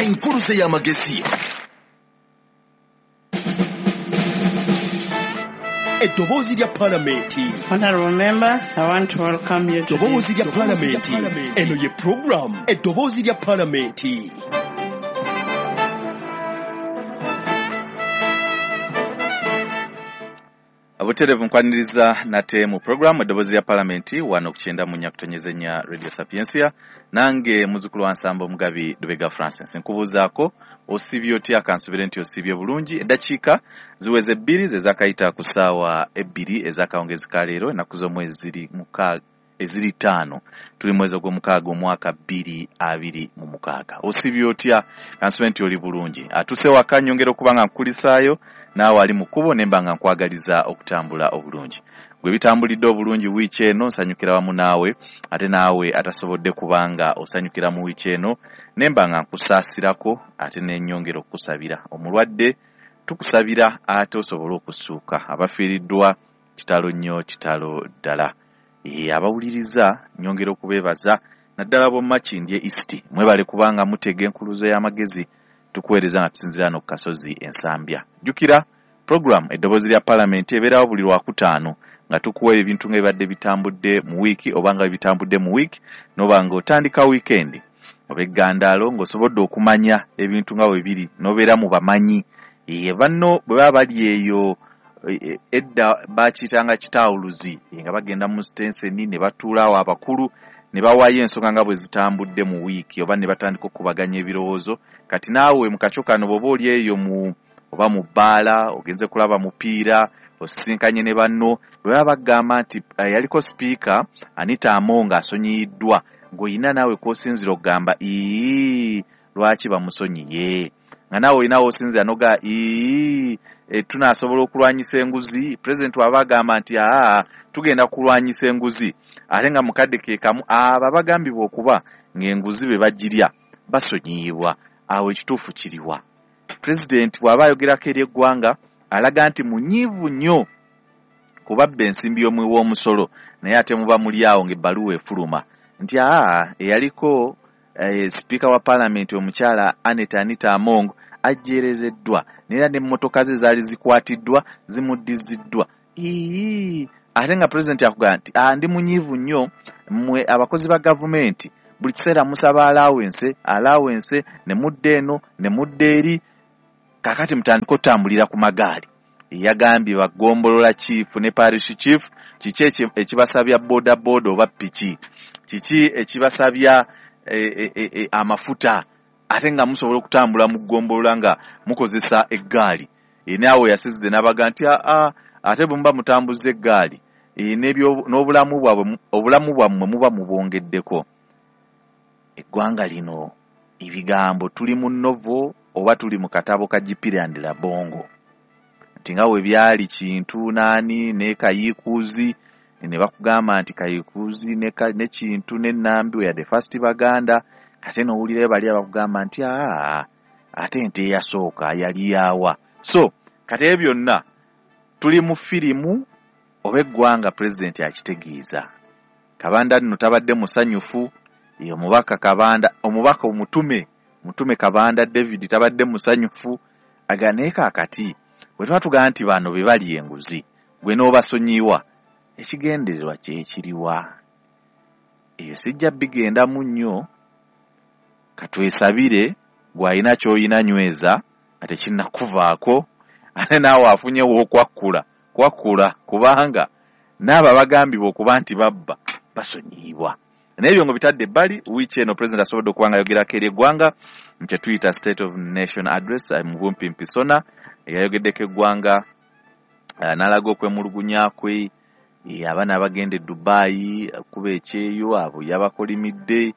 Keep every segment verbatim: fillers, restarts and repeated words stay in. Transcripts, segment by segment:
Enkuluze y'amagezi. Eddoboozi lya Palamenti. Honorable members, I want to welcome you to Eddoboozi lya Palamenti. Eno ye program Eddoboozi lya Palamenti. Abuterevu nkwaniriza nate mu program Eddoboozi lya Palamenti wano kukyenda mu nyakutonyeze nya Radio Sapientia, nange muzukulu wa Nsambo Omugabi Lubega Francis. Nkubuuzaako osibye otya? Kansubire nti osibye bulungi. Eddakiika ziweze bbiri ze zaakayita ku ssaawa ebbiri ez'akawungezi ka leero, ennaku z'omwezi ziri mukaaga eziri ttaano, tuli mwezi ogw'omukaaga omwaka bbiri abiri mu mukaaga. Osibye otya? Kansubire nti oli bulungi. Atuse waka nnyongera okuba nga nkukulisaayo, naawe ali mu kkubo ne mba nga nkwagaliza okutambula obulungi. Gwe bitambulidde obulungi wiiki eno nsanyukira wamu naawe, ate naawe atasobodde kubanga osanyukira mu wiiki eno ne mba nga nkusaasirako, ate ne nnyongera okukusabira. Omulwadde tukusabira ate osobole okussuuka. Abafiiriddwa kitalo nnyo, kitalo ddala. Ee, abawuliriza nnyongera okubeebaza naddala b'omu Makindye East, mwebale kubanga mutega enkuluzo y'amagezi tukuweereza nga tusinziira no ku kasozi Ensambya. Jjukira program Eddoboozi lya Palamenti ebeerawo buli Lwakutaano nga tukuwa ebintu nga bibadde bitambudde mu wiiki oba nga bitambudde mu wiiki, n'oba nga otandika wiikendi oba eggandaalo ng'osobodde okumanya ebintu nga bwe biri n'obeera mu bamanyi. Ee, banno bwe baba bali eyo edda bakiyitanga kitaawuluzi, nga bagenda mu sitenseni ne batuula awo abakulu ne bawaayo ensonga nga bwe zitambudde mu wiiki oba ne batandika okukubaganya ebirowoozo. Kati naawe mu kakyo kano bw'oba oli eyo mu oba mu bbaala ogenze kulaba mupiira osisinkanye ne banno, bwe baba bagamba nti yaliko sipiika Anita Among asonyiyiddwa, ng'olina naawe kw'osinziira okugamba ii lwaki bamusonyiye, nga naawe olina w'osinziira n'ogamba ii e, tunaasobola okulwanyisa enguzi. Pulezidenti waba agamba nti aa tugenda kulwanyisa enguzi, ate nga mukadde ke kamu abo abagambibwa okuba ng'enguzi be bagirya basonyiyibwa. Awo ekituufu kiriwa? Pulezidenti bw'aba ayogerako eri eggwanga alaga nti munyiivu nnyo kubabba ensimbi y'omuwi w'omusolo, naye ate muba muli awo ng'ebbaluwa efuluma nti aa eyaliko eh, sipiika wa Palamenti omukyala Annet Anita Among ajjeerezeddwa, naye n'emmotoka ze zaali zikwatiddwa zimuddiziddwa. Ii ate nga pulezidenti akugamba nti ah, ndi munyiivu nnyo mmwe abakozi ba gavumenti buli kiseera musaba allowance allowance ne mudda eno ne mudda eri, kaakati mutandike otambulira ku magaali. Yagambye bagombolola chief ne parish chief, kiki ekibasabya boda boda oba piki, kiki ekibasabya e, e, e, amafuta, ate nga musobola okutambula mu ggombolola nga mukozesa eggaali. E, naawe yasizidde n'abaga nti aa ate bwe muba mutambuza eggaali e, n'obulamu bwabwe obulamu bwammwe muba mubwongeddeko. Eggwanga lino ebigambo tuli mu novo oba tuli mu katabo ka Gipira and Labongo, nti nga bwe byali Kintu naani ne Kayiikuuzi ne bakugamba nti Kayiikuuzi ne, ne Kintu ne Nambi we the first Baganda, ate n'owulirayo bali abakugamba nti aa ate ente eyasooka yali yaawa. So kati ebyo byonna tuli mu firimu oba eggwanga pulezidenti akitegeeza. Kabanda nno tabadde musanyufu, omubaka Kabanda, omubaka omutume mutume Kabanda David tabadde musanyufu, aga naye kaakati bwe tuba tugamba nti bano be bali enguzi gwe n'obasonyiwa, ekigendererwa kye kiriwa? Eyo sijja bigendamu nnyo, katwesabire gw'alina ky'olina nyweza nga tekinnakuvaako, ate naawe afunye w'okwakkula kwakkula, kubanga n'abo abagambibwa okuba nti babba basonyiyibwa. Naye ebyo nga bitadde ebbali, wiiki eno pulezidenti asobodde okuba nga ayogerako eri eggwanga mu kye tuyita State of Nation Address mu bumpimpi SONA, yayogeddeko eggwanga n'alaga okwemulugunya kwe, abaana abagenda e Dubai kuba ekyeyo abo yabakolimidde,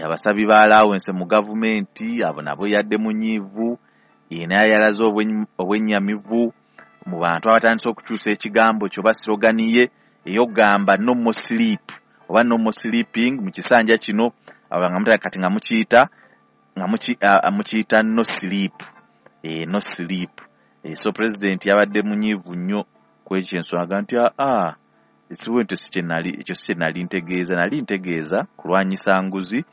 abasabi ba allowance mu gavumenti abo nabo yadde munyiivu, naye yalaze obwennyamivu mu bantu abatandise okukyusa ekigambo kyo oba slogan ye ey'okugamba no more sleep oba no more sleeping mu kisanja kino, nga kati nga mukiyita nga mukiyita no sleep, eh, no sleep. Eh, so president yabadde munyiivu nnyo ku ekyo ensonga nti aa siwe nti si kye nali ekyo si kye nali ntegeeza, nali ntegeeza kulwanyisa nguzi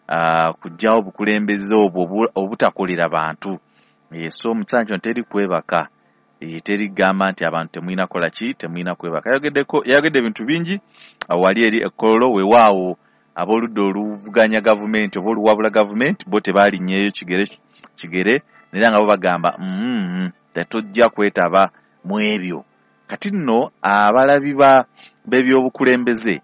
uh, kujjawo obukulembeze obwo obutakolera bantu. E, so mu kiseera kino teri kwebaka, e, teri gamba nti abantu temulina kola ki, temulina kwebaka. Yayogeddeko yayogedde ebintu bingi wali eri e Kololo. Weewaawo ab'oludda oluvuganya gavumenti oba oluwabula gavumenti bo tebalinnyeyo kigere kigere, era nga bo bagamba mm, tetujja kwetaba mu ebyo. Kati nno abalabi ba b'ebyobukulembeze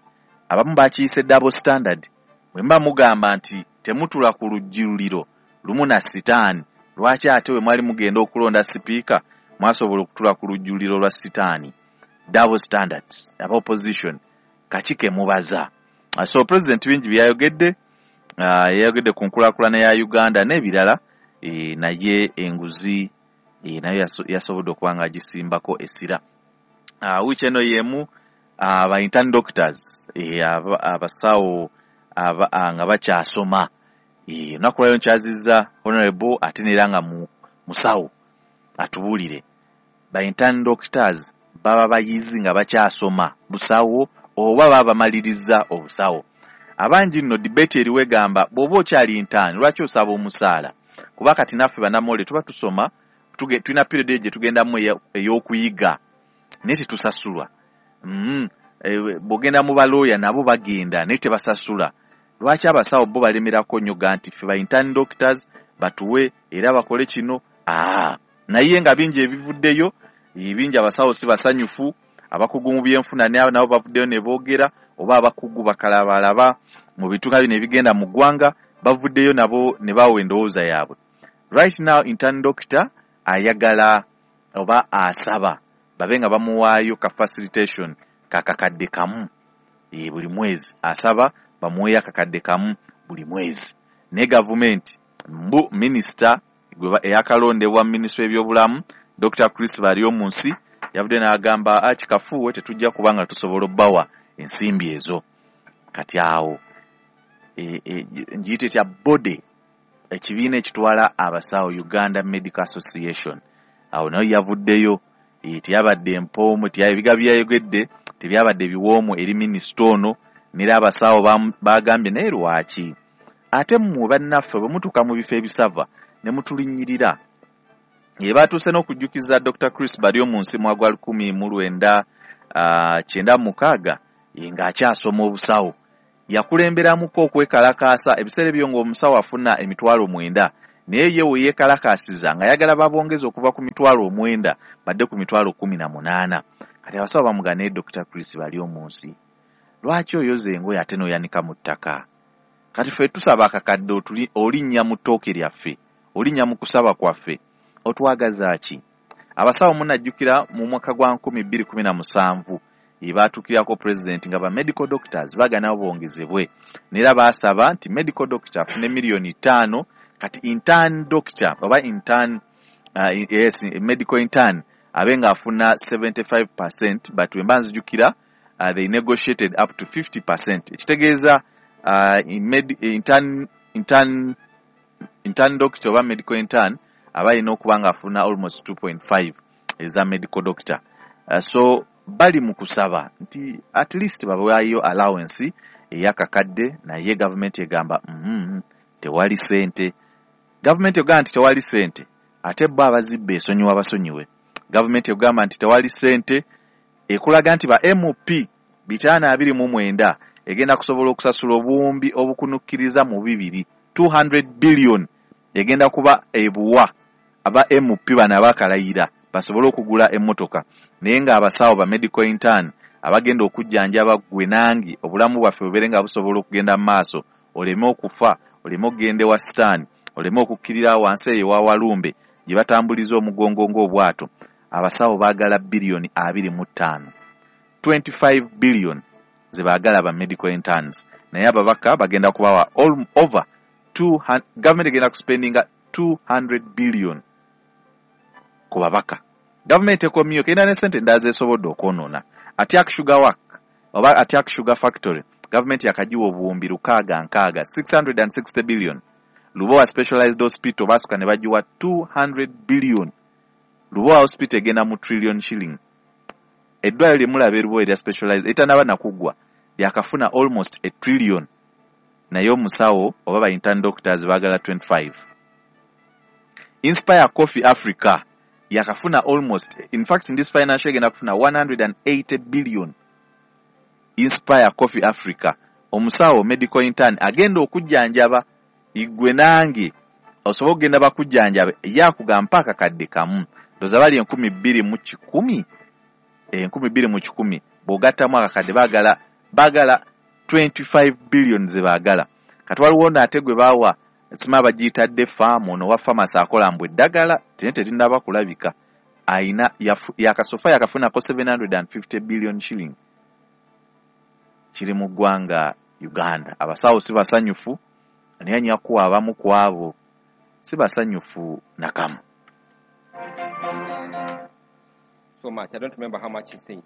abamu bakiyise double standard. Bwe muba mugamba nti temutula ku lujjuliro lumu na sitaani, lwaki ate bwe mwali mugenda okulonda sipiika mwasobola okutula ku lujjuliro lwa sitaani? Double standards, aba opposition kaki ke mubaza? So president bingi byayogedde, uh, yayogedde ku nkulaakulana ya Uganda n'ebirala, e, naye enguzi e, nayo yasobodde okuba nga agisimbako essira. Uh, wiiki eno y'emu aba uh, intern doctors, e, abasawo aba, nga bakyasoma, olunaku lwayo nkyazizza honorable ate neera nga mu, musawo atubuulire. Ba intern doctors baba bayizi nga bakyasoma busawo oba baba bamaliriza obusawo? Abangi nno debate eriwo egamba bw'oba okyali intern lwaki osaba omusaala? Kuba kati naffe bannamawulire tuba tusoma, tulina period eyo gye tugendamu ey'okuyiga naye tetusasulwa. Mm, e, bw'ogenda mu balooya nabo bagenda naye tebasasula. Lwaki abasawo bo balemerako nnyo ga nti ffe ba intern doctors batuwe era bakole kino? Aa, naye nga bingi ebivuddeyo, bingi abasawo si basanyufu. Abakugu mu byenfuna nabo bavuddeyo ne boogera, oba abakugu bakalabalaba mu bintu nga bino ebigenda mu ggwanga bavuddeyo nabo ne bawa endowooza yaabwe. Right now intern doctor ayagala oba asaba babe nga bamuwaayo ka facilitation kakakadde kamu e, buli mwezi. Asaba bamuweeyo akakadde kamu buli mwezi, naye gavumenti mbu minisita eyakalondebwa minisitule y'ebyobulamu Doctor Chris Baryomunsi yavudde n'agamba akikafuuwe tetujja kuba nga tusobola obbawa ensimbi ezo. Kati awo e, e, ngiyite tya body ekibiina ekitwala abasawo Uganda Medical Association, awo nayo yavuddeyo, e, teyabadde empoomu, ebiga byayogedde tebyabadde biwoomu eri minisita ono, nera abasawo bagambye naye lwaki ate mmwe bannaffe bwe mutuuka mu bifo ebisava ne mutulinnyirira. Ye batuuse n'okujjukiza Doctor Chris Baryomunsi mu gwa lukumi mu lwenda uh, kyenda mukaaga ng'akyasoma obusawo. Yakulemberamuko okwekalakaasa ebiseera ebyo ng'omusawo afuna emitwalo mwenda, naye ye we yeekalakaasiza ng'ayagala babongeze okuva ku mitwalo omwenda badde ku mitwalo kkumi na munaana. Kati abasawo bamugana naye Doctor Chris Baryomunsi, lwaki oyoza engoye ate n'oyanika mu ttaka? Kati ffe tusaba akakadde olinnya mu ttooke lyaffe, olinnya mu kusaba kwaffe, otwagaza ki? Abasawo munajjukira mu mwaka gwa nkumi bbiri kumi na musanvu baatuukirako president nga ba medical doctors baagana bongezebwe, neera baasaba nti medical doctor afune miliyoni ttaano, kati intern doctor oba intern uh, yes, medical intern abe ng'afuna seventy-five percent, but bwe mba nzijukira uh, they negotiated up to fifty percent. Ekitegeeza uh, med, intern, intern, intern doctor oba medical intern aba alina okuba ng'afuna almost two point five eza medical doctor. Uh, so bali mu kusaba nti at least babawaayo allowance ey'akakadde, naye gavumenti egamba mm, tewali ssente. Gavumenti egamba nti tewali ssente, ate bo abazibba esonyiwa basonyiwe. Gavumenti egamba nti tewali ssente, ekulaga nti ba M P bitaano abiri mu mwenda egenda kusobola okusasula obuwumbi obukunukkiriza mu bibiri two hundred billion egenda kuba ebuwa aba M P bano abakalayira basobole okugula emmotoka. Naye ng'abasawo ba medical intern abagenda okujjanjaba ggwe nange obulamu bwaffe bubeere nga busobola okugenda mu maaso, oleme okufa, oleme okugenda ewa sitaani, oleme okukkirira wansi eyo ewa Walumbe gye batambuliza omugongo ng'obwato. Abasawo baagala biliyoni abiri mu ttaano, twenty-five billion ze baagala ba medical interns, naye ababaka bagenda kubawa all over two hundred, gavumenti egenda kuspendinga two hundred billion ku babaka. Gavumenti ekomyeyo erina ne ssente endala zeesobodde okwonoona. Atiak Sugar Work oba Atiak Sugar Factory gavumenti yakagiwa obuwumbi lukaaga nkaaga six hundred and sixty billion. Lubowa Specialized Hospital baasuka ne bagiwa two hundred billion. Lubowa Hospital egenda mu trillion shilling. Eddwaliro lye mulaba e Lubowa erya specialized etanaba nakuggwa lyakafuna almost a trillion. Naye omusawo oba ba intern doctors baagala twenty-five. Inspire Coffee Africa yakafuna almost, in fact in this financial year egenda kufuna one hundred eighty billion. Inspire Coffee Africa, omusawo medical intern agenda okujjanjaba igwe nange osobola okugenda bakujjanjaba yakugamba akakadde kamu, ndowooza bali enkumi bbiri mu kikumi, enkumi bbiri mu kikumi bw'ogattamu akakadde baagala baagala twenty-five billion ze baagala. Kati waliwo n'ate gwe baawa sima bagiyitadde faamu, ono wa famasi akola mbu eddagala tene terinnaba kulabika, ayina yakasofa yakafunako seven hundred fifty billion shilling. Kiri mu ggwanga Uganda. Abasawo si basanyufu, naye nyakuwa abamu ku abo si basanyufu nakamu. So much. I don't remember how much he said.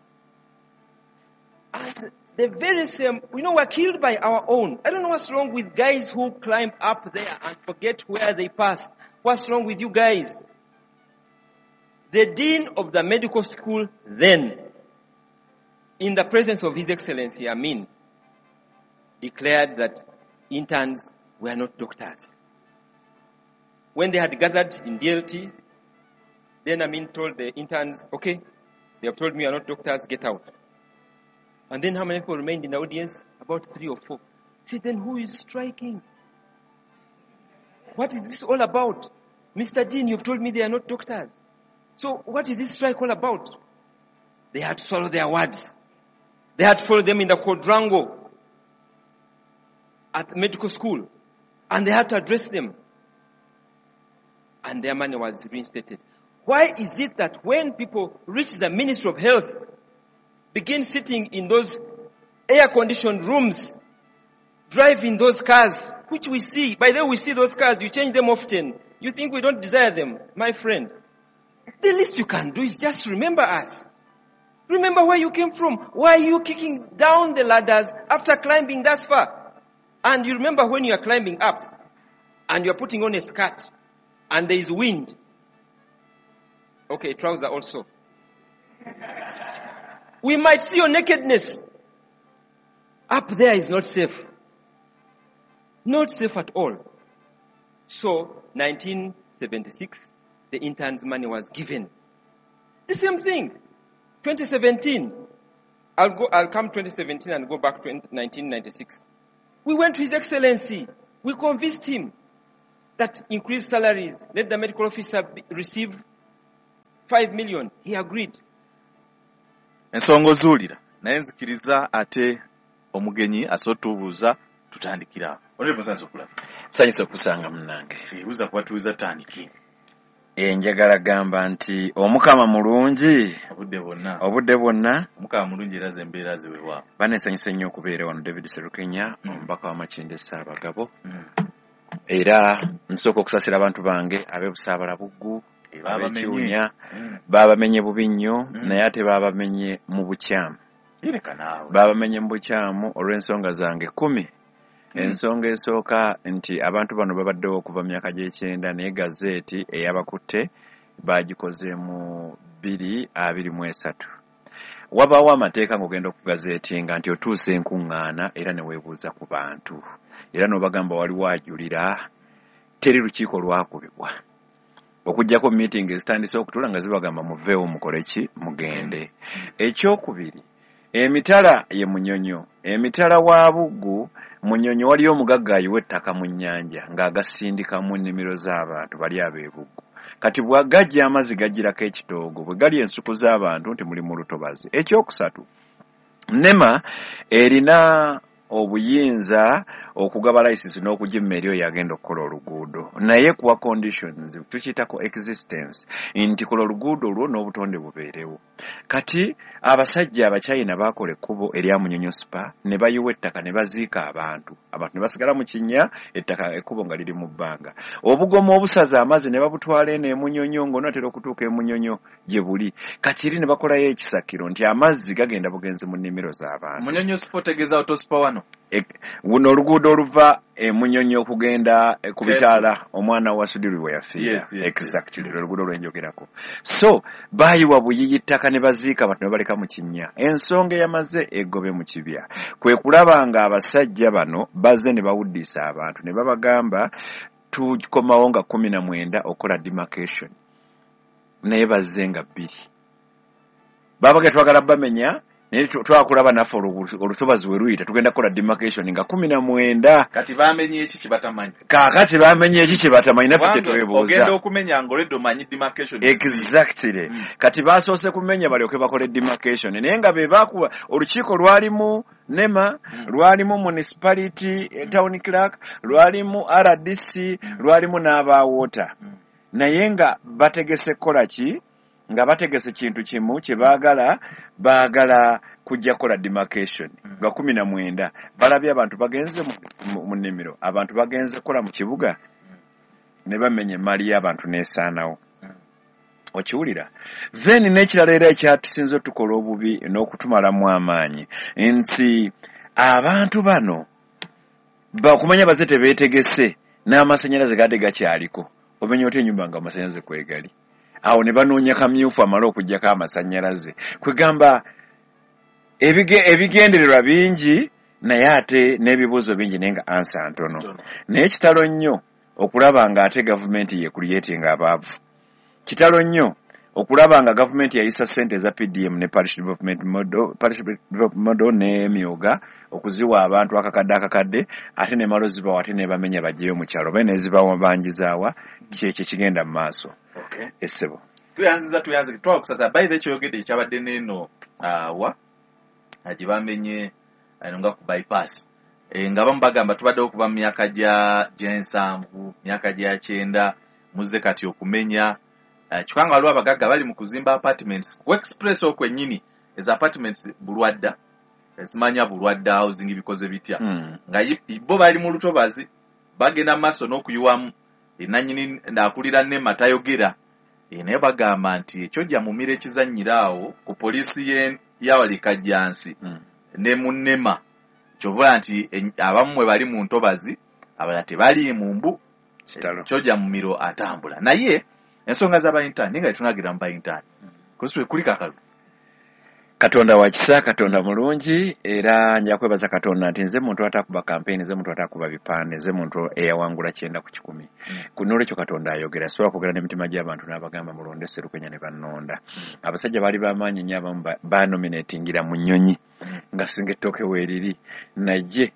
And the very same, you know, we're killed by our own. I don't know what's wrong with guys who climb up there and forget where they passed. What's wrong with you guys? The dean of the medical school then, in the presence of His Excellency Amin, declared that interns were not doctors. When they had gathered in D L T, then Amin told the interns, okay, they have told me you are not doctors, get out. And then how many people remained in the audience? About three or four. Say, then who is striking? What is this all about? Mister Dean, you've told me they are not doctors. So what is this strike all about? They had to swallow their words. They had to follow them in the quadrangle at medical school. And they had to address them. And their money was reinstated. Why is it that when people reach the Ministry of Health, begin sitting in those air-conditioned rooms, driving those cars, which we see. By the way, we see those cars, you change them often. You think we don't desire them, my friend. The least you can do is just remember us. Remember where you came from. Why are you kicking down the ladders after climbing thus far? And you remember when you are climbing up and you are putting on a skirt and there is wind. Okay, trouser also. We might see your nakedness. Up there is not safe. Not safe at all. So, nineteen seventy-six, the interns' money was given. The same thing. twenty seventeen. I'll go, I'll come twenty seventeen and go back to nineteen ninety-six. We went to His Excellency. We convinced him that increased salaries, let the medical officer be, receive five million. He agreed. Ensonga ozuulira naye nzikiriza ate omugenyi asotubuuza tutandikira. Honorable Nsanyusa okulaba. Nsanyusa okusanga munnange. Ebuuza kuba tuwuza tandike. Enjagala gamba nti Omukama mulungi obudde bwonna. Obudde bwonna. Omukama mulungi era ze embeera ze weewaawo. Banensanyusa nnyo okubeera wano. David Serukenya, mm. omubaka wa Makindye Ssaabagabo. Mm. Era nsooka okusasira abantu bange ab'e Busaabala Buggu, ab'Ekiwunya, mm. baabamenye bubi nnyo, mm. naye ate baabamenye mu bukyamu. Yereka naawe. Baabamenye mu bukyamu olw'ensonga zange kkumi. Mm. Ensonga esooka nti abantu bano babaddewo okuva mu myaka gy'ekyenda, naye gazeeti eyabakutte bagikoze mu bbiri abiri mu esatu. Wabaawo amateeka ng'ogenda okugazeetinga nti otuuse enkuŋŋaana era ne weebuuza ku bantu. Era n'obagamba waliwo ajulira, teri lukiiko lwakubibwa. Okuggyako meeting ezitandise okutuula nga zibagamba muveewo mukole ki mugende. Ekyokubiri, emitala ye Munyonyo. Emitala wa Buggu, Munyonyo waliyo omugagga ayiwa ettaka mu nnyanja ng'agasindika mu nnimiro z'abantu bali ab'e Buggu. Kati bw'agajja amazzi gajjirako ekitoogo, bwe gali ensuku z'abantu nti muli mu lutobazi. Ekyokusatu, NEMA erina obuyinza okugaba license n'okugimma eri oyo agenda okukola oluguudo, naye kuwa conditions, tukiyitako existence, nti kola oluguudo lwo n'obutonde bubeerewo. Kati abasajja Abachina baakola ekkubo erya Munyonyo Spa ne bayiwa ettaka ne baziika abantu, abantu ne basigala mu kinnya, ettaka ekkubo nga liri mu bbanga. Obugomo obusaza amazzi ne babutwala eno e Munyonyo ng'onaatera okutuuka e Munyonyo gye buli. Kati eri ne bakolayo ekisakiro nti amazzi gagenda bugenzi mu nnimiro z'abantu. Munyonyo Spa otegeeza autospa wano? Guno oluguudo oluva e Munyonyo okugenda ku bitaala omwana wa Sudiri we yafiira. Yes, yes, exactly yes. Oluguudo lwenjogerako. So baayiwa buyiyi ttaka Ettaka ne baziika abantu ne baleka mu kinnya. Ensonga eyamaze eggobe mu kibya kwe kulaba nga abasajja bano bazze ne bawuddisa abantu ne babagamba tukomawo nga kkumi na mwenda okukola demarcation, naye bazze nga bbiri. Babaga twagala bamenya naye twakulaba naffe olutobazi we luyita tugenda kukola demarcation nga kkumi na mwenda. Kati bamenye eki kye batamanyi? Kaakati bamenye eki kye batamanyi naffe tetwebuuza. Ogenda okumenya ng'olwedde omanyi demarcation. Exactly. Mm. Kati basoose kumenya balyoke bakole demarcation, naye nga be baakuba olukiiko lwalimu NEMA, mm. lwalimu municipality, mm. town clerk, lwalimu R D C, mm. lwalimu n'aba water. Mm. Naye nga bategese kukola ki? Nga bategese kintu kimu kye baagala, baagala kujja kukola demarcation nga kkumi na mwenda. Balabye abantu bagenze mu nnimiro, abantu bagenze kukola mu kibuga ne bamenya emmali y'abantu n'esaanawo. Okiwulira? Then n'ekirala era ekyatusinze otukola obubi n'okutumalamu amaanyi nti abantu bano bakumanya baze tebeetegese n'amasannyalaze gadde gakyaliko. Omenya otya ennyumba nga amasannyalaze kwegali? Awo ne banoonya kamyufu amale okuggyako amasannyalaze. Kwegamba ebigendererwa bingi naye ate n'ebibuuzo bingi naye nga ansa ntono. Naye kitalo nnyo okulaba nga ate gavumenti ye creating abaavu. Kitalo nnyo okulaba nga gavumenti yayisa ssente eza P D M ne Parish Development Model, Parish Development Model n'emyoga okuziwa abantu akakadde akakadde ate ne malo zibawa ate ne bamenya baggyeyo mu kyalo oba ne zibawa banjizaawa kyekyo kigenda mu maaso. Okay. Essebo. Tuyanziza tuyanze twakusasa by the kyogedde ekyabadde n'eno awa gye bamenye eno nga ku bypass. E, nga abamu bagamba tubaddewo okuva mu myaka gya gy'ensanvu, myaka gya kyenda, muzze kati okumenya. Uh, kyokka nga waliwo abagagga bali mu kuzimba apartments ku express okwo ennyini. Ezo apartments Bulwadda, simanya Bulwadda housing bikoze bitya. Mm. Nga bo bali mu lutobazi bagenda mu maaso n'okuyiwamu. Nannyini akulira NEMA tayogera. E, naye bagamba nti ekyojja mumira ekizannyira awo ku poliisi y'awali Kajjansi mm. ne mu NEMA. Kyova nti abamu mwe bali mu ntobazi abalala tebali mu mbu. Kyojja mumiro atambula. Naye ensonga z'abayintaani nga tetunagira mu bayintaani kuswe kulika akalu. Katonda wa kisa, Katonda mulungi, era nja kwebaza Katonda nti nze muntu atakuba campaign, nze muntu atakuba bipande, nze muntu eyawangula kyenda ku kikumi. Mm. N'olwekyo Katonda ayogera, sobola kwogera n'emitima gy'abantu n'abagamba mulonde Sserukenya ne bannonda. Mm. Abasajja baali b'amaanyi nnyo abamu banominatingira mu nnyonyi mm. nga singa ettooke weeriri, naye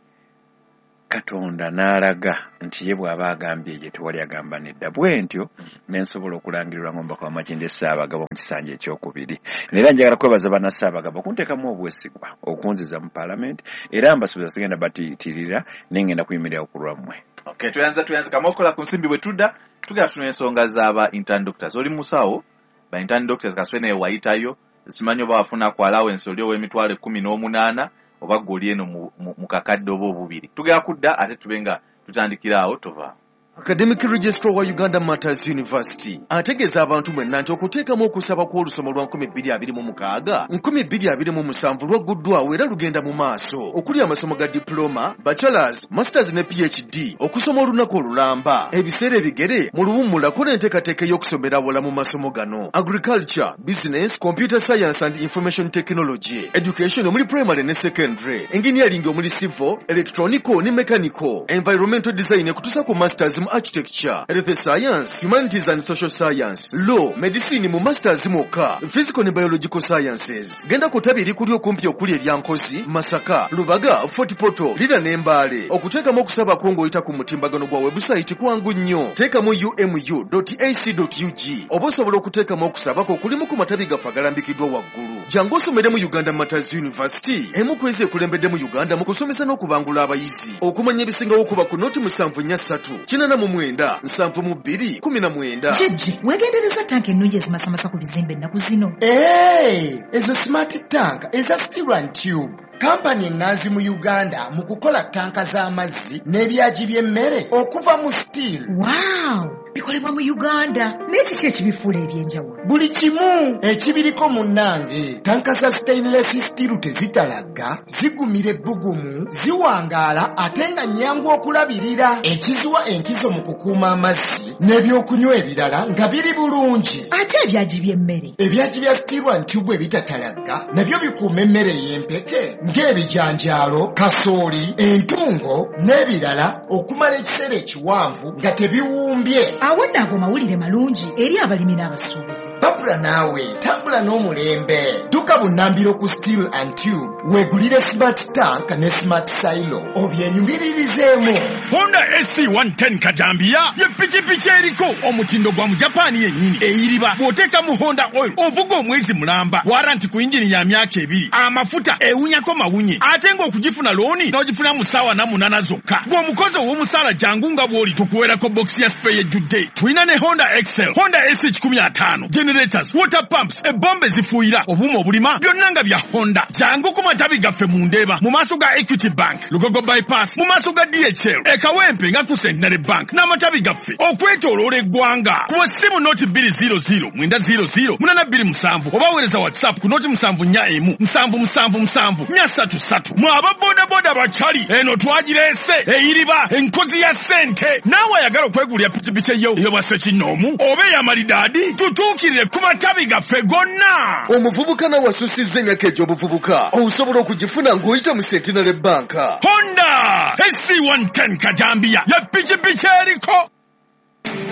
Katonda n'alaga nti ye bw'aba agambye ye tewali agamba nedda. Bwe ntyo ne nsobola okulangirirwa ng'omubaka wa Makindye Ssaabagabo mu kisanja ekyokubiri. Era njagala kwebaza bannaSsaabagabo okunteekamu obwesigwa okunziza mu paalamenti, era mbasuubiza sigenda batiitirira naye ngenda kuyimirirawo ku lwammwe. Okay, tuyanza tuyanza kama okola ku nsimbi bwe tudda tugenda tuna ensonga z'aba intern doctors. Oli musawo ba intern doctors kaswe naye wayitayo, simanyi oba wafuna ku allowance oli ow'emitwalo ekkumi n'omunaana oba ggwe eno mu kakadde oba obubiri. Tugenda kudda ate tube nga tutandikira awo tova. Academic Registrar wa Uganda Martyrs University ategeeza abantu mwenna nti okuteekamu okusaba kw'olusoma lwa nkumi bbiri abiri mu mukaaga nkumi bbiri abiri mu musanvu lwagguddwawo era lugenda mu maaso okuli amasomo ga diploma, bachelors, masters ne P H D okusoma olunaku olulamba ebiseera ebigere mu luwummula kola enteekateeka ey'okusomera awala mu masomo gano: agriculture, business, computer science and information technology, education omuli primary ne secondary, engineering omuli civil, electronical ne mechanical, environmental design ekutuusa ku masters mu architecture, health science, humanities and social science, law, medicine mu masters mwokka, physical ne biological sciences. Genda ku ttabi erikuli okumpi okuli erya Nkozi, Masaka, Lubaga, Fort Portal, Lira ne Mbale. Okuteekamu okusaba kwo ng'oyita ku mutimbagano gwa website kwangu nnyo. Teekamu u m u dot a c dot u g oba osobola okuteekamu okusaba kwo okulimu ku matabi gaffe agalambikiddwa waggulu. Jangu osomere mu Uganda Martyrs University, emu ku ezo ekulembedde mu Uganda mu kusomesa n'okubangula abayizi. Okumanya ebisingawo kuba ku noti musanvu nnya ssatu kinaana mu mwenda nsanvu mu bbiri kumi na mwenda. Jjajja, weegendereza tanka ennungi ezimasamasa ku bizimbe ennaku zino. Ee, ezo smart tank eza steel and tube. Kampani eŋŋanzi mu Uganda mu kukola tanka z'amazzi n'ebyagi by'emmere okuva mu steel. Wow! Bikola Bikolebwa mu Uganda. Naye kiki ekibifuula ebyenjawulo? Buli kimu ekibiriko munnange. Tanka za stainless steel tezitalagga, zigumira ebbugumu, ziwangaala ate nga nnyangu okulabirira. Ekiziwa enkizo mu kukuuma amazzi n'ebyokunywa ebirala nga biri bulungi. Ate ebyagi by'emmere? Ebyagi bya steel and tube ebitatalagga nabyo bikuuma emmere ey'empeke ng'ebijanjaalo, kasooli, entungo n'ebirala okumala ekiseera ekiwanvu nga tebiwumbye. Awo nno ago mawulire malungi eri abalimi n'abasuubuzi. Babula naawe tambula n'omulembe. Dduka bunnambiro ku Steel and Tube weegulire smart tank ne smart silo obyenyumiririzeemu. Honda S C one ten kajambiya ye pikipiki eriko omutindo gwa mu Japaani yennyini, eyiriba bw'oteeka mu Honda oil ovuga omwezi mulamba, warranty ku yingini ya myaka ebiri, amafuta ewunyako mawunye, ate ng'okugifuna looni n'ogifuna mu ssaawa na munaana zokka. Gw'omukozi ow'omusaala jangu nga bw'oli tukuweerako bokisi ya spare ejjudde. Tulina ne Honda Excel, Honda S kikumi ataano, generators, water pumps, ebombe zifuuyira, obuuma obulima, byonna nga bya Honda. Jangu ku matabi gaffe mu Ndeeba mu maaso ga Equity Bank, Lugogo Bypass mu maaso ga D H L, e Kawempe nga ku Centenary Bank n'amatabi gaffe okwetooloola eggwanga. Kuba ssimu noti bbiri zero zero mwenda zero zero munaana bbiri musanvu oba weereza WhatsApp ku noti musanvu nnya emu nsanvu musanvu musanvu nnya ssatu ssatu. Mwe aba bodaboda bakyali eno twagireese eyiriba enkozi ya ssente. Naawe ayagala okwegulira pikipiki eyo ey'obwa kinnoomu oba ey'amalidaadi, tutuukirire ku matabi gaffe gonna. Omuvubuka nawe asusizza emyaka egy'obuvubuka osobola okugifuna ng'oyita mu Centenary Bank. Honda S C one ten kajambiya ye pikipiki eriko.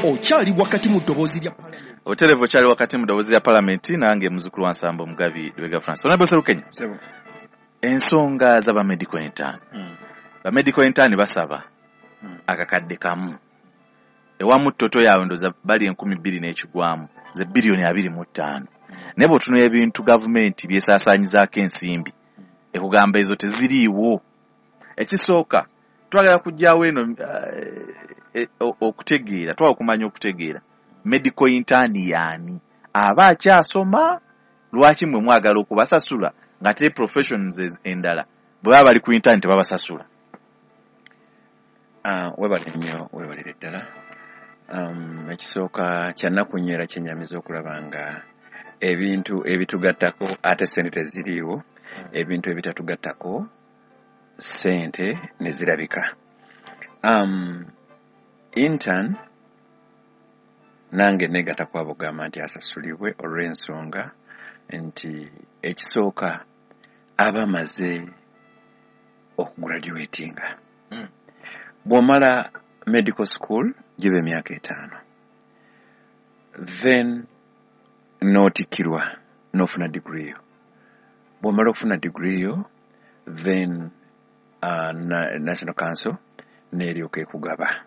Okyali wakati mu ddoboozi lya Oterevu, okyali wakati mu ddoboozi lya Palamenti, nange muzukulu wa Nsambo Mugabi Lubega Francis. Honorable Serukenya, Sebo. Ensonga z'abamedical intern, Mm. bamedical intern basaba Mm. akakadde kamu ewamu, total yaabwe ndoza bali enkumi bbiri n'ekigwamu, ze biliyoni abiri mu ttaano. Naye bw'otunula ebintu gavumenti byesaasaanyizaako ensimbi, ekugamba ezo teziriiwo. Ekisooka twagala kugyawo eno eh, eh, o- okutegeera, twagala okumanya okutegeera medical intern yaani aba akyasoma. Lwaki mwe mwagala okubasasula nga te professions ez- endala bwe baba bali ku intern tebabasasula? Ah, webale nnyo, webalire ddala. um, ekisooka kyannaku nnyo era kyenyamiza okulaba nga ebintu ebitugattako ate sente teziriiwo, ebintu ebitatugattako sente ne zirabika. um, intern nange negatta kwabo gamba nti asasulibwe olw'ensonga nti ekisooka aba amaze okugraduatinga. Mm. Bw'omala medical school giba emyaka etaano, then n'otikkirwa n'ofuna degree yo. Bw'omala okufuna degree yo, then uh, na, National Council n'eryoka ekugaba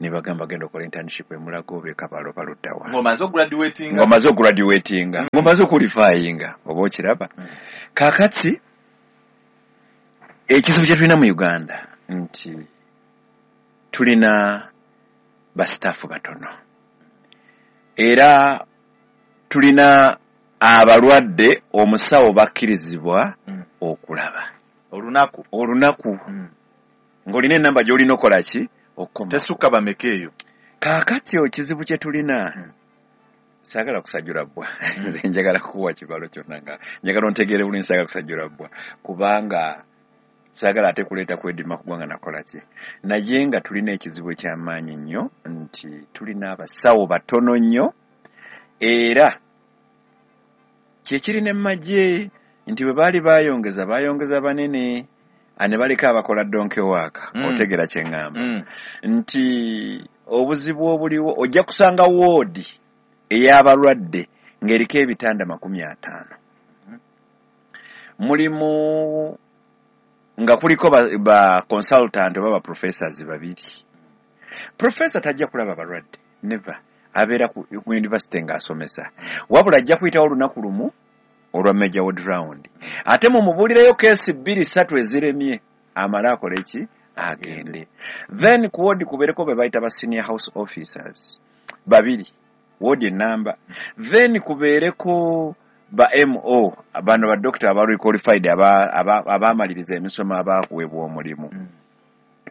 ne bagamba genda okola internship emulago oba ekabalo baluddawa. Ng'omaze okugraduatinga. Ng'omaze okugraduatinga, ng'omaze okuqualifyinga, oba okiraba. Mm. Kaakati ekizibu kye tulina mu Uganda nti tulina basitaafu batono era tulina abalwadde omusawo bakkirizibwa Mm. okulaba olunaku. Olunaku Mm. ng'olina enamba gy'olina okola ki okukoma. Tesukka bameka eyo? Kaakati ekizibu kye tulina, Mm. saagala kusajjula bbwa, nze njagala kukuwa kibalo kyonna nga njagala ontegeere bulungi. Saagala kusajjula bbwa kubanga saagala ate kuleeta kwedima kugwanga nakola ki, naye nga tulina ekizibu ekyamaanyi nnyo nti tulina abasawo batono nnyo. Era kyekiri ne mmagye nti bwe baali bayongeza bayongeza banene ah, ne baleka abakola donkey work. Mm. Otegeera kye ŋŋamba Mm. nti obuzibu obuliwo, ojja kusanga woodi ey'abalwadde ng'eriko ebitanda makumi ataano, mulimu nga kuliko ba, ba consultant oba ba professors babiri. Professor tajja kulaba balwadde, never. Abeera ku, ku university ng'asomesa, wabula ajja kuyitawo olunaku lumu olwa major ward round, ate mumubuulireyo case bbiri ssatu eziremye, amale akole ki, agende. Then ku ward kubeereko be bayita ba senior house officers babiri, ward enamba. Then kubeereko ba M O, bano ba doctor aba requalified, abamaliriza emisomo, abakuweebwa omulimu. Mm.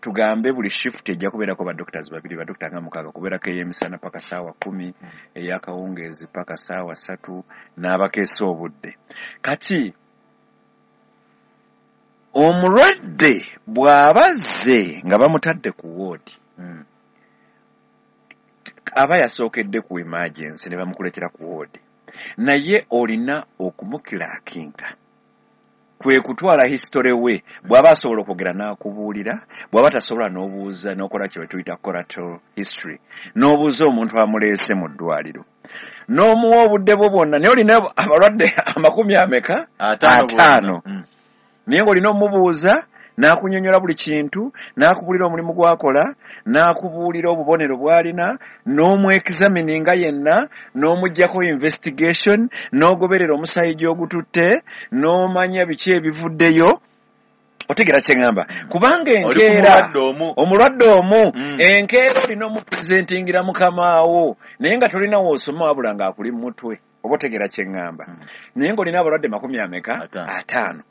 Tugambe buli shift ejja kubeerako ba doctors babiri, ba doctor nga mukaaga, kubeerako ey'emisana paka ssaawa kumi, ey'akawungeezi paka ssaawa ssatu, n'abakeesa obudde. Kati omulwadde bw'aba azze nga bamutadde ku woodi, Mm. aba yasookedde ku emergency ne bamukuleetera ku woodi, naye olina okumukilaakinga, kwe kutwala history we. Bw'aba asobola okwogera n'akubuulira, bw'aba tasobola n'obuuza, n'okola kye tuyita collateral history, n'obuuza omuntu amuleese mu ddwaliro, n'omuwa obudde bwo bwonna. Naye olina abalwadde amakumi ameka? Ataano. Ataano. Mm. Naye ng'olina omubuuza n'akunyonnyola buli kintu, n'akubuulira omulimu gw'akola, n'akubuulira obubonero bw'alina, n'omwexamininga yenna, n'omuggyako investigation, n'ogoberera omusaayi gy'ogututte, n'omanya biki ebivuddeyo. Otegeera kye ŋŋamba? Kubanga Oli ku enkeera mulwadde omu. Omulwadde omu. Mm. Enkeera olina omupresentingira mukamaawo, naye nga tolina woosoma, wabula ng'akuli mu mutwe. Oba otegeera kye ŋŋamba? Mm. Naye ng'olina abalwadde makumi ameka? Ataano. Ataano.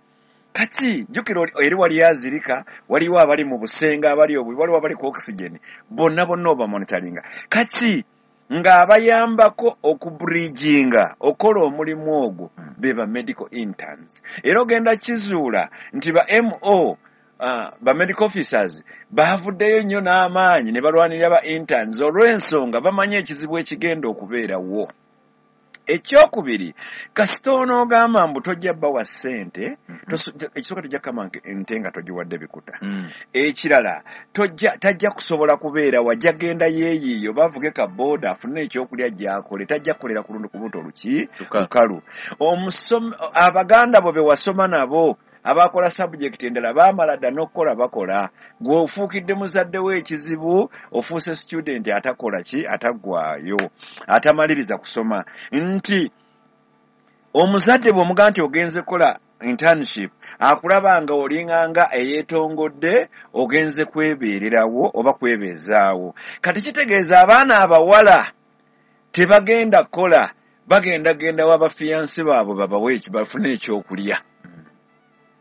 Kati jjukira oli- eri wali azirika, waliwo abali mu busenga, abali obubi, waliwo abali ku oxygen, bonna bonna obamonitaringa. Kati ng'abayambako okubridginga okukola omulimu ogwo Mm. be ba medical interns. Era ogenda kizuula nti ba M O, uh, ba medical officers bavuddeyo nnyo n'amaanyi ne balwanirira ba interns, olw'ensonga bamanyi ekizibu ekigenda okubeerawo. Ekyokubiri, kasita onoogamba mbu tojja bbawa ssente, Mhm. toso- ekisooka tojja kukama nte nga togiwadde bikuta. Mm. Ekirala, tojja tajja kusobola kubeera, wajja genda yeeyiiyo bavuge ka booda afune ekyokulya gy'akole. Tajja kukolera ku lundu ku lubuto luki? Lukalu. Lukalu. Omusomi- abaganda bo be wasoma nabo abakola subject endala baamala dda n'okukola, bakola. Gwe ofuukidde muzadde we ekizibu, ofuuse student atakola ki, ataggwayo, atamaliriza kusoma. Nti omuzadde bw'omugamba nti ogenze kukola internship, akulaba nga olinganga eyeetongodde, ogenze kwebeererawo oba kwebeezaawo. Kati kitegeeza abaana abawala tebagenda kukola, bagenda genda wa bafiyansi baabwe babawe eki- bafune ekyokulya.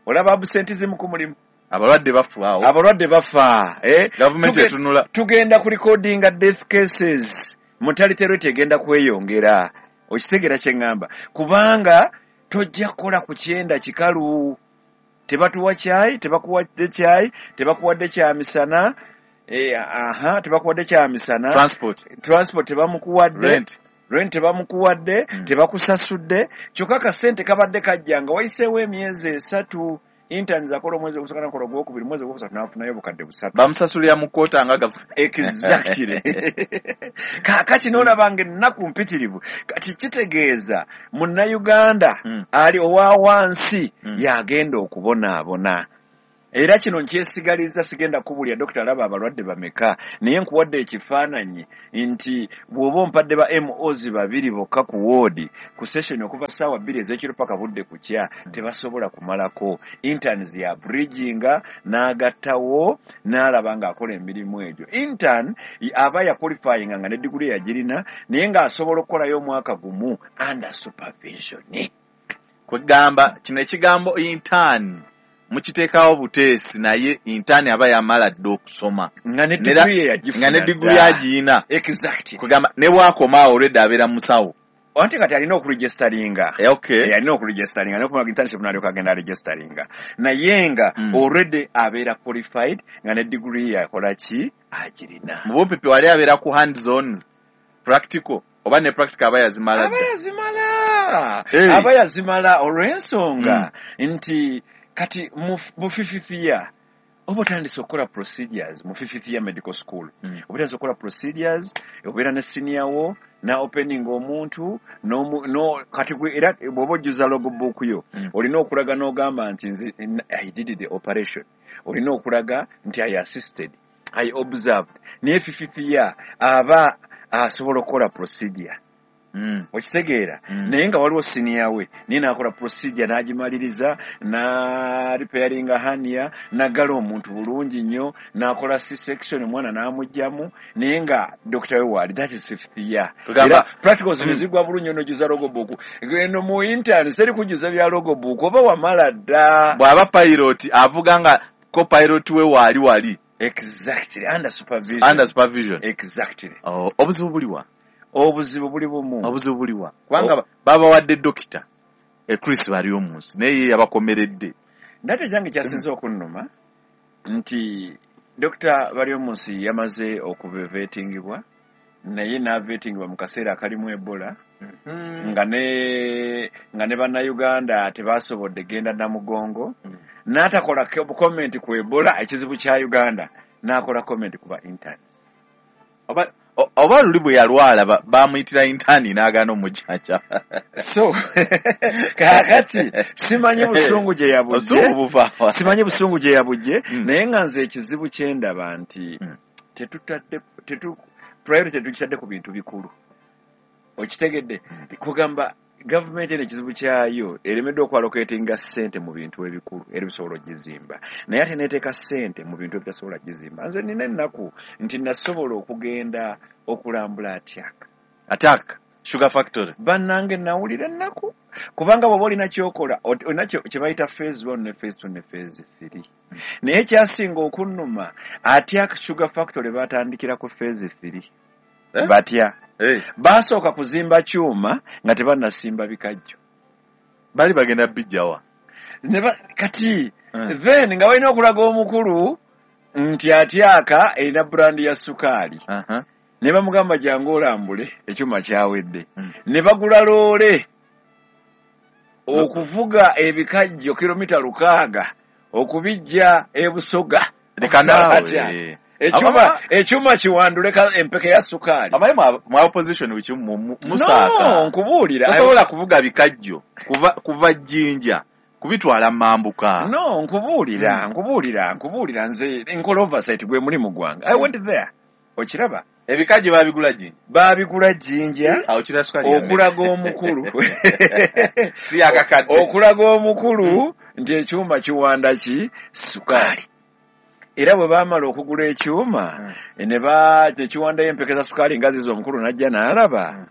Olaba absentism ku mulimu. Abalwadde bafa awo. Abalwadde bafa, eh? Gavumenti Tuge- etunula. Tugenda ku recordinga death cases, mortality rate egenda kweyongera. Okitegeera kye ŋŋamba? Kubanga tojja kukola ku kyenda kikalu, tebatuwa kyayi, tebakuwadde kyayi, tebakuwadde kyamisana, eh, aha, tebakuwadde kyamisana. Transport. Transport tebamukuwadde. Rent. Rent tebamukuwadde. Mm. Tebakusasudde, kyokka kasente kabadde kajja nga wayiseewo emyezi esatu. Interns akola omwezi ogusooka, nakola ogwokubiri, omwezi ogwokusatu n'afunayo obukadde busatu. Bamusasulira mu kkoota nga gavu. Exactly. Kaakati n'olaba nga ennaku mpitirivu. Kati kitegeeza munnayuganda Mm. ali owa wansi Mm. y'agenda okubonaabona. Era kino nkyesigaliza, sigenda kubulya dokita alaba abalwadde bameka, naye nkuwadde ekifaananyi nti bw'oba ompadde ba M Os babiri bokka ku woodi ku session okuva ssaawa bbiri ez'ekiro paka budde kukya, tebasobola kumalako. Interns ya bridginga n'agattawo n'alaba ng'akola emirimu egyo. Intern aba yaqualifyinga nga ne diguli yagirina, naye ng'asobola okukolayo omwaka gumu under supervision. Kwegamba kino ekigambo intern mukiteekawo buteesi, naye intern aba yamala dda okusoma. Nga ne Nera- diguli ye yagifuna nga ne diguli dda. agiyina. Exactly. Kwegamba ne bwakomaawo olwedde abeera musawo. Anti kati alina okuregisteringa. Eh, okay. Eh, alina okuregisteringa nokumala internship n'alyoka agenda aregisteringa, naye nga Mm. already abeera qualified nga ne diguli ye akola ki, agirina. Mu bumpipi wali abeera ku hands on practical, oba ne practical aba yazimala Aba dda? yazimala. Hey. Aba yazimala, olw'ensonga nti kati mu mu fifth year oba otandise okukola procedures. Mu fifth year medical school Mm. oba otandise okukola procedures, obeera ne senior wo na opening omuntu n'omu- no, kati gwe era bw'oba ojjuza logbook yo, Mm. olina okulaga n'ogamba nti nze I did the operation, olina okulaga nti I assisted, I observed. Naye fifth year aba asobola okukola procedure. Mm. Okitegeera? Mm. Naye nga waliwo senior we, naye n'akola procedure n'agimaliriza, na repairinga hernia, n'aggala omuntu bulungi nnyo, n'akola C section, omwana n'amugjamu, naye nga dokita we waali. That is fifth year. Tugamba- Era practicals Mm. ne zigwa bulungi, onojjuza logbook. Eno mu intern seri kujjuza bya logbook, oba wamala dda. Bw'aba pilot avuga nga co-pilot we waali wali. Exactly, under supervision. Under supervision. Exactly. Oh, obuzibu buliwa? Obuzibu buli bumu. Obuzibu buliwa? Kubanga babawadde dokita e Chris Baryomunsi naye yabakomeredde. Ndate jange kyasinze okunnuma nti Dokita Baryomunsi yamaze okuvetingibwa, naye n'avetingibwa mu kaseera akalimu Ebola, mm-hmm. nga ne nga ne bannayuganda tebasobodde genda Namugongo, mm. n'atakola comment ku Ebola ekizibu kya Uganda, n'akola comment ku ba interns. Oba oba luli bwe yalwala bamuyitira intern n'agaana omujjanja. So kaakati simanyi busungu gye yabujje, simanyi busungu gye yabujje, naye nga nze ekizibu kye ndaba nti tetutadde tetu priority tukitadde ku bintu bikulu. Okitegedde? Kugamba gavumenti eno ekizibu kyayo eremeddwa okwalocatinga ssente mu bintu ebikulu era bisobola ogizimba, naye ate neeteeka ssente mu bintu ebitasobola gizimba. Nze nina ennaku nti nasobola okugenda okulambula Atiak. Atiak Sugar Factory. Bannange nawulira ennaku kubanga bw'oba olina ky'okola olina kye bayita phase one ne phase two ne phase three, naye kyasinga okunnuma Atiak Sugar Factory baatandikira ku phase three. Eh? Batya hey. Basooka kuzimba kyuma nga tebannasimba bikajjo, bali bagenda bijjawa Neba, kati mm. then nga balina okulaga omukulu nti Atiaka erina brand ya sukaali. uh -huh. Ne bamugamba jangu olambule ekyuma kyawedde. mm. Ne bagula loole okuvuga ebikajjo kilomita lukaaga okubijja e Busoga. Leka naawe. Ekyuma ekyuma kiwandule empeke ya sukaali. Abaye mu opposition wiki musaaka. No, nkubuulira. Tosobola kuvuga bikajjo kuva kuva Jinja kubitwala Mambuka. No, nkubuulira, mm. nkubuulira, nkubuulira nze nkola oversight gwe mulimu gwange. I went there. Okiraba? Ebikajjo babigula Jinja. Babigula Jinja. Awo kira sukaali. Okulaga omukulu. Si akakadde. Okulaga omukulu nti ekyuma kiwanda ki sukaali. Era bwe baamala okugula ekyuma mm. ne ba tekiwandayo empeke za sukaali nga zizo omukulu n'ajja n'alaba, mm.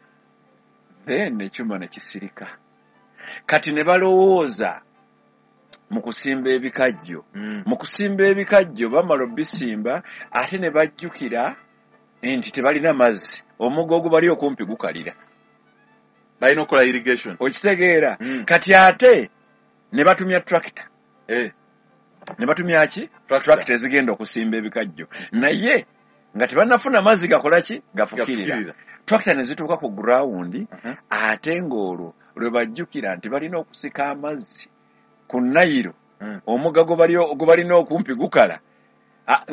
then ekyuma ne kisirika. Kati ne balowooza mu kusimba ebikajjo. mm. Mu kusimba ebikajjo bamala obisimba ate ne bajjukira nti tebalina mazzi, omugga ogubali okumpi gukalira, balina okukola irrigation. Okitegeera? mm. Kati ate ne batumya tractor. eh. Ne batumya ki? Tractor ezigenda okusimba ebikajjo, naye nga tebannafuna mazzi gakola ki? Gafukirira. Tractor ne zituuka ku ground, uh -huh. ate ng'olwo lwe bajjukira nti balina okusika amazzi ku Nayiro, mm. omugga gwe balina okumpi gukala,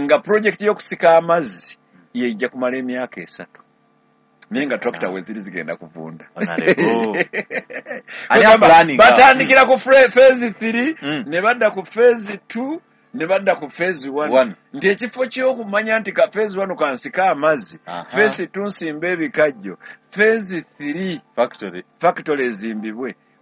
nga project y'okusika amazzi yejja kumala emyaka esatu, naye nga tractor we ziri zigenda kuvunda. Batandikira ku phase three, mm. ne badda ku phase two, ne badda ku phase one. Nti ekifo ky'okumanya nti ka phase one kansika amazzi, phase two nsimba ebikajjo, phase three factory factory ezimbibwe.